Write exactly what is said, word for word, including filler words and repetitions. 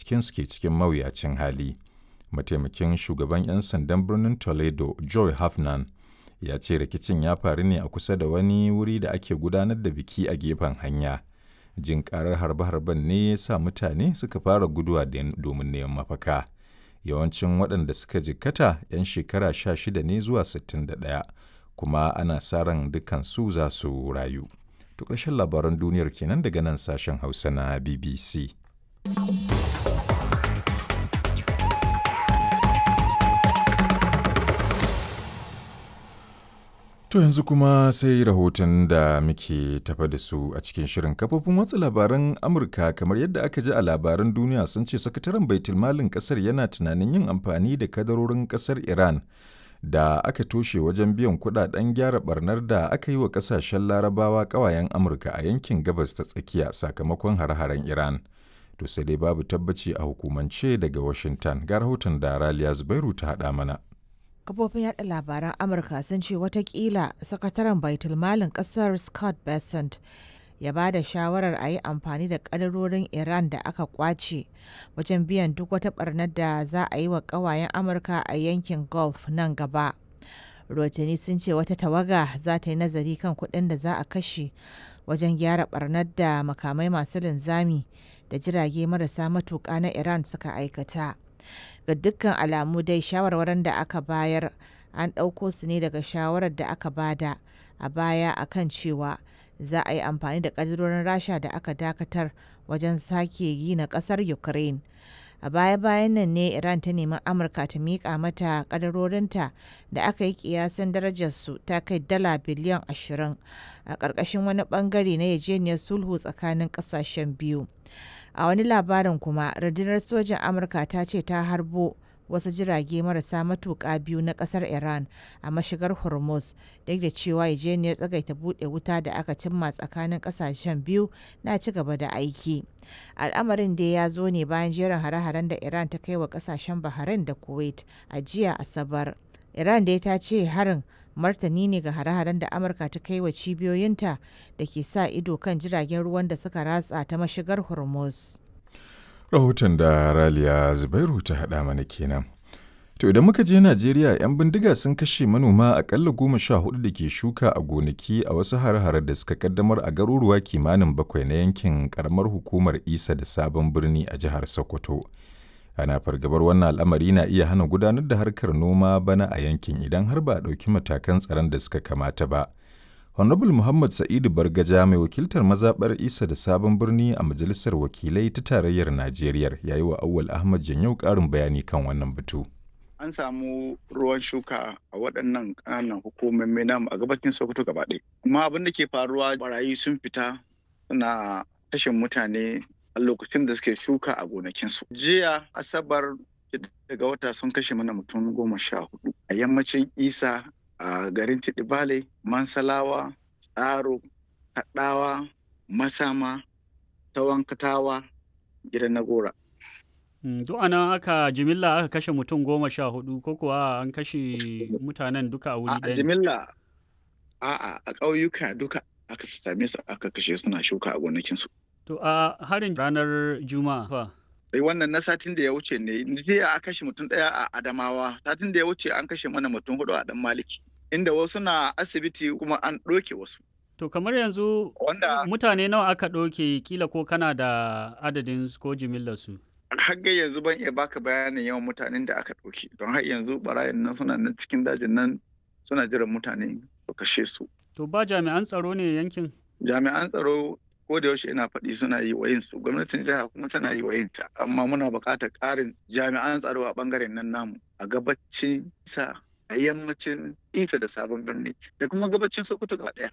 cikinsu ke cikin mawuyacin hali. Mataimakin shugaban 'yan sandan birnin Toledo, Joy Hafnan, ya ce rikicin ya faru ne a kusa da wani wuri da ake gudanar da biki a gefen hanya. Jin karar harbe-harben ne ya sa mutane suka fara guduwa domin neman mafaka. Yawancin waɗanda suka jikkata 'yan shekara sha shida ne zuwa sittin da ɗaya, kuma ana sa ran dukansu za su rayu. To ƙarshen labaran duniyar kenan daga nan sashen Hausa na B B C. To yanzu kuma sai rahoton da muke tafa da su a cikin shirin. Kafofin watsa labaran Amurka, kamar yadda aka ji a labaran duniya, sun ce sakataren baitulmalin kasar yana tunanin yin amfani da kadarorin kasar Iran da aka toshe wajen biyan kudaden gyara barnar da aka yi wa kasashen Larabawa kawayen Amurka a yankin Gabas ta Tsakiya sakamakon hare-haren Iran. To sai dai babu tabbaci a hukumance daga Washington. Ga rahoton da Raliya Zubairu ta haɗa mana. Kafofin yada labaran Amurka sun ce watakila sakataren baitulmalin kasar Scott Bessent ya ba da shawarar a yi amfani da kadarorin Iran da aka kwace wajen biyan duk wata barnar da za a yi wa kawayen Amurka a yankin Gulf nan gaba. Rotani sun ce wata tawaga za ta yi nazari kan kuɗin da za a kashe wajen gyara barnar da makamai masu linzami da jirage marasa matuƙa na Iran suka aikata. Ga dukkan alamu dai, shawarwarin da aka bayar an ɗauko su ne daga shawarar da aka bada a baya akan cewa za a yi amfani da ƙadirorin Rasha da aka dakatar wajen sake gina ƙasar Ukraine. A baya-bayan nan ne Iran ta nemi Amurka ta miƙa mata ƙadarorinta da aka yi kiyasin darajarsu ta kai dala biliyan ashirin a ƙarƙashin wani ɓangare na yarjejeniyar sulhu tsakanin ƙasashen biyu. A wani labarin kuma, rundunar sojin Amurka ta ce ta harbo wasu jirage marasa matuƙa biyu na ƙasar Iran a mashigar Hormuz, duk da cewa yarjejeniyar tsagaita buɗe wuta da aka cimma tsakanin ƙasashen biyu na ci gaba da aiki. Al'amarin dai ya zo ne bayan jerin hare-haren da Iran ta kai wa ƙasashen Bahrain da Kuwait a jiya Asabar. Iran dai ta ce harin martani ne ga hare-haren da Amurka ta kai wa cibiyoyinta da ke sa ido kan jiragen ruwan da suka ratsa ta mashigar Hormuz. Rahoton da Raliya Zubairu ta haɗa mana kenan. To idan muka je Najeriya, 'yan bindiga sun kashe manoma akalla goma sha hudu da ke shuka a gonaki a wasu hare-hare da suka kaddamar a garuruwa kimanin bakwai na yankin karamar hukumar Isa da Sabon Birni a jihar Sokoto. Ana fargabar wannan al'amari na iya hana gudanar da harkar noma bana a yankin idan har ba a ɗauki matakan tsaron da suka kamata ba. Honorable Muhammad Sa'idu Bargaja, mai wakiltar mazaɓar Isa da Sabon Birni a Majalisar Wakilai ta Tarayyar Najeriya, ya yi wa Auwal Ahmad Janyau ƙarin bayani kan wannan batu. An samu ruwan shuka a waɗannan ƙananan hukumomi namu a gabacin Sokoto gaba ɗaya. Amma abin da ke faruwa, barayi sun fita suna kashe mutane a lokacin da suke shuka a gonakinsu. Jiya Asabar daga wata sun kashe mana mutum goma sha hudu a yammacin Isa, a garin Tidibale, Mansalawa, Tsaro, Kaɗawa, Masama, Tawankatawa, Gidan Nagora. Duk anan aka jimilla aka kashe mutum goma sha hudu, ko kuwa an kashe mutanen duka a wuri A ɗaya ne? jimilla, a'a, a ƙauyuka duka aka same su aka kashe suna shuka a gonakinsu. To a harin ranar Juma'a fa? Sai wannan na satin da ya wuce ne, jiya a kashe mutum ɗaya a Adamawa, satin da ya wuce an kashe mana mutum hudu a Dan Maliki, inda wasu na asibiti kuma an ɗoke wasu. To kamar yanzu Wanda mutane nawa aka ɗauke, kila ko kana da adadin su ko jimillar su? Har ga yanzu ban iya baka bayanin yawan mutanen da aka ɗauki, don har yanzu barayin nan suna nan cikin dajin nan suna jiran mutane su kashe su. To ba jami'an tsaro ne yankin? Jami'an tsaro ko da yaushe ina faɗi suna yi wa su, gwamnatin jiha kuma tana yi wa yinta, amma muna buƙatar ƙarin jami'an tsaro a ɓangaren nan namu a gabacin Isa, a yammacin Isa da Sabon Birni da kuma gabacin Sokoto gaba ɗaya.